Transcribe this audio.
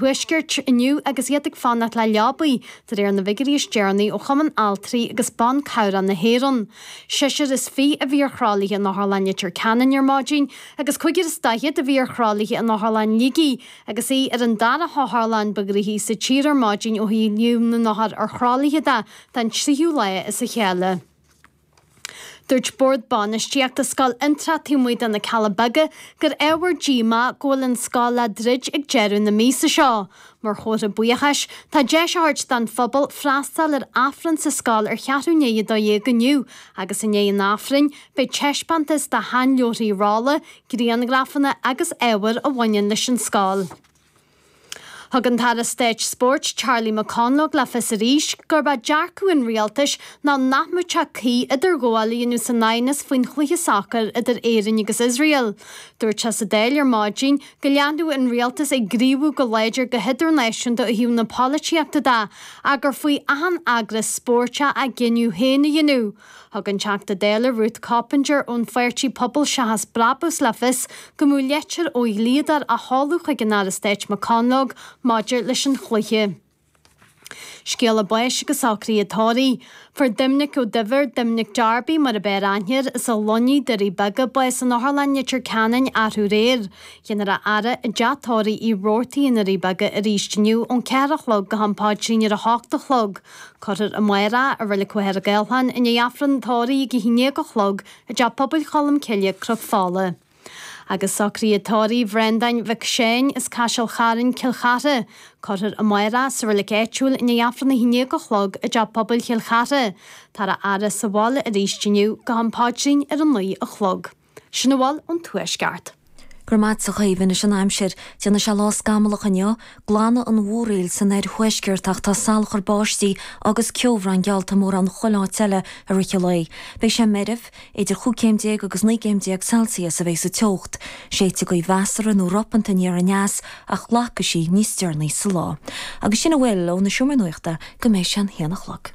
Thuaiscirt inniu agus iad ag fanacht le leabaí, de réir na bhfigiúirí is deireanaí ó Chumann Altraí agus Ban Cabhrach na hÉireann. Seisear is 20 a bhí ar thralaithe in Otharlann Leitir Ceanainn ar maidin agus cúigear is 40 a bhí ar thralaithe in Otharlann Shligigh agus í ar an dara hotharlann ba ghnoithí sa tír ar maidin ó thaobh líon na n-othar ar thralaithe de don tríú lá as a chéile. Dúirt Bord Bainistíochta Scoil Fhionntrá taobh amuigh de na Cealla Beaga gur ábhar díomá go bhfuil an scoil le druid ag deireadh na míosa seo. Mar chomhartha buíochais, tá deis á thabhairt don phobal freastal ar Aifreann sa scoil ar cheathrú i ndiaidh 12 inniu agus i ndiaidh an Aifrinn beidh taispeántas de sheanleabharthaí rolla, grianghrafanna agus ábhair a bhaineann leis an scoil. Thug an tAire Stáit Spóirt Charlie McConalogue le fios arís gurb é dearcadh an rialtais ná nach mbeadh sé cuí idirghabháil a dhéanamh san aighneas faoin chluiche sacair idir Éirinn agus Iosrael. Dúirt sé sa Dáil ar maidin go leanfadh an rialtas ag gníomhú go láidir go hidirnáisiúnta ó thaobh na polaitíochta de ach gur faoi achan eagras spóirt é a gcinneadh féin a dhéanamh. Thug an Teachta Dála Ruth Coppinger ón pháirtí Pobal Seachas Brabús le fios go mbeadh leitir ó dhlíodóir á sheoladh chuig an Aire Stáit McConalogue maidir leis an chluiche. Scéala báis agus socruithe tórraimh. Fuair Doimnic Ó Duibhir, Doimnic Darby mar ab fhearr aithne air, as an Luinnigh, Doirí Beaga, bás in Otharlann Leitir Ceanainn arú aréir. Déanfar a fhaire i dteach tórraimh Uí Robhartaigh i nDoirí Beaga arís inniu ón 4 a chlog go ham paidrín ar a hocht a chlog. Cuirfear amárach i Reilig Mhachaire Gathlán i ndiaidh Aifreann tórraimh ag a haon déag a chlog i dTeach Pobail Cholm Cille, Cnoc Fola. Agus socruithe tórraimh Bhreandáin Mhic Seáin as Caiseal Chairn, Cill Chartha. Cuirfear amárach sa reilig áitiúil i ndiaidh Aifreann a haon déag a chlog i dTeach Pobail Chill Chartha. Táthar á fhaire sa bhaile arís inniu go ham paidrín ar a naoi a chlog. Sin a bhfuil ón Tuaisceart. Go raibh maith agat a Chaoimhe. Anois an aimsir. Déanfaidh sé lá scamallach inniu. Glanfaidh an mhúraíl san oirthuaisceart ach tá salachar báistí agus ceobhrán geallta mórán chuile áit eile i rith an lae. Beidh sé meirbh. Idir chúig céim déag agus 19 gcéim Celsius a bheidh sa teocht. Séidfidh gaoth mheasartha nó ropanta aniar aneas ach glacfaidh sí níos deireanaí sa lá. Agus sin a bhfuil ó na Seomraí Nuachta go mbeidh sé an haon a chlog.